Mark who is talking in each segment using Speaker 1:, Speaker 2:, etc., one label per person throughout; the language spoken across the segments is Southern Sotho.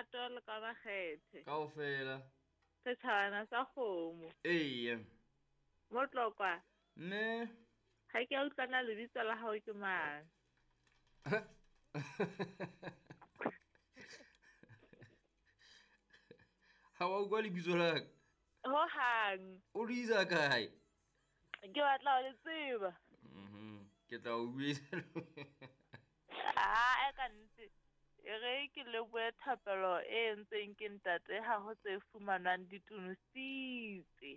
Speaker 1: lerato le ka makgethe.
Speaker 2: Kaofela.
Speaker 1: Setjhabana sa kgomo.
Speaker 2: Eya.
Speaker 1: Motlokwa.
Speaker 2: Mme.
Speaker 1: Ha ke a utlwana lebitso la hao ke mang?
Speaker 2: Ha wa utlwa lebitso la ka?
Speaker 1: Ho hang.
Speaker 2: O le isa kae?
Speaker 1: Ke batla ho le tseba.
Speaker 2: Ke tla o buisa.
Speaker 1: Ah, e ka nnete. E re ke lebohe thapelo e entsweng ke ntate ha ho tse fumanwang di tunositse.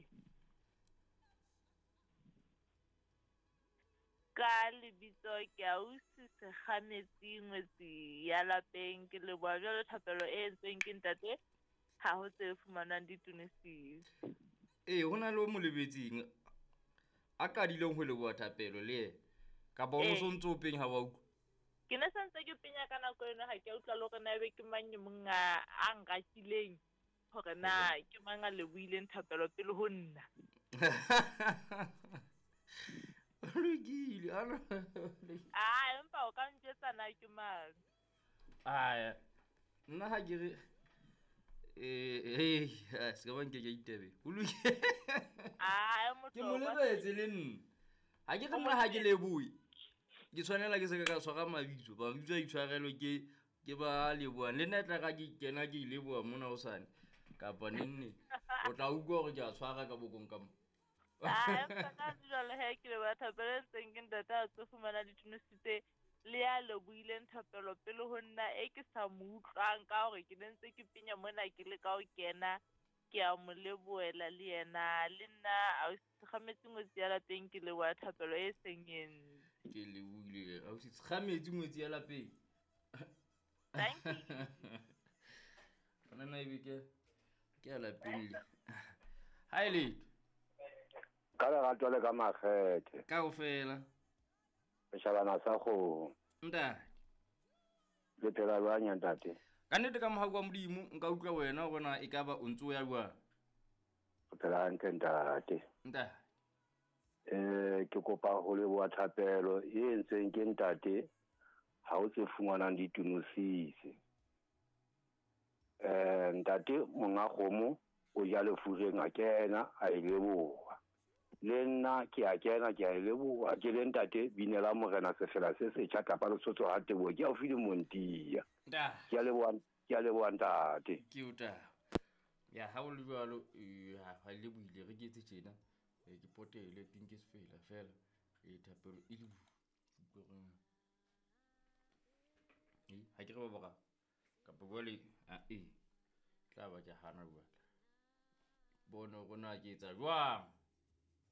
Speaker 1: Ka lebitso ke ausi Sekgametsi ngwetsi ya lapeng ke leboha jwalo thapelo e entsweng ke ntate ha ho tse fumanwang di tunositse.
Speaker 2: Ee, ho na le o mo lebetseng a qadileng ho leboha thapelo le yena. Kapa o no sontso o penya ha wa utlwa?
Speaker 1: Ke ne sentse ke penya ka nako eno ha ke a utlwa le hore na ebe ke mang e mong a nrakileng hore na ke mang a lebohileng thapelo pele ho nna.
Speaker 2: Lokile.
Speaker 1: Ah, empa o ka njwetsa na ke mang?
Speaker 2: Aya. Nna ha ke re eh se ka ba nke ke itebe. O lokile.
Speaker 1: Ah,
Speaker 2: Ke mo lebetse le nna. Ha ke re nna ha ke lebohe. Ke tshwanela ke se ka tshwara mabitso. Mabitso a itshwarelwe ke ba lebohang. Le nna e tla ka ke kena ke leboha mona hosane. Kapa nenne. O tla utlwa hore ke a tshwara ka bokong ka mo.
Speaker 1: Ah, empa ka jwale he ke leboha thapelo e ntseng ke ntate a tlo fumana ditunositse le ya lebohileng thapelo pele ho nna e ke sa mo utlwang ka hore ke ne ntse ke penya mona ke le ka ho kena ke a mo lebohela le yena le nna ausi Sekgametsi ngwetsi ya lapeng ke leboha thapelo e seng e ntse.
Speaker 2: Ke lebohile ausi Sekgametsi ngwetsi ya lapeng.
Speaker 1: Thank you.
Speaker 2: Bona na ebe ke ya lapeng le. Ha e letho.
Speaker 3: Ka lerato le ka makgethe.
Speaker 2: Kaofela.
Speaker 3: Setjhabana sa kgomo.
Speaker 2: Ntate.
Speaker 3: Le phela jwang ya ntate?
Speaker 2: Ka nnete ka mohau wa Modimo nka utlwa wena hore na ekaba o ntso ya jwang.
Speaker 3: O phela hantle ntate.
Speaker 2: Ntate.
Speaker 3: Ke kopa ho leboha thapelo e entsweng ke ntate ha o tse fumanang ditunosise. Ntate monga kgomo o ja lefureng a kena a e leboha. Le nna ke a kena ke a e leboha ke le ntate binela morena sefela se setjha kapa Lesotho ha teboho ke haufi le Montia. Ke a leboha ntate.
Speaker 2: Ke o taba. Ya ha o le jwalo ha le buile re ke etse tjena ke potele teng ke sefela fela thapelo e le utlwe ha ke re ba bora kapa jwale a tla ba ke hana jwale. Bone hore na ke etsa jwang.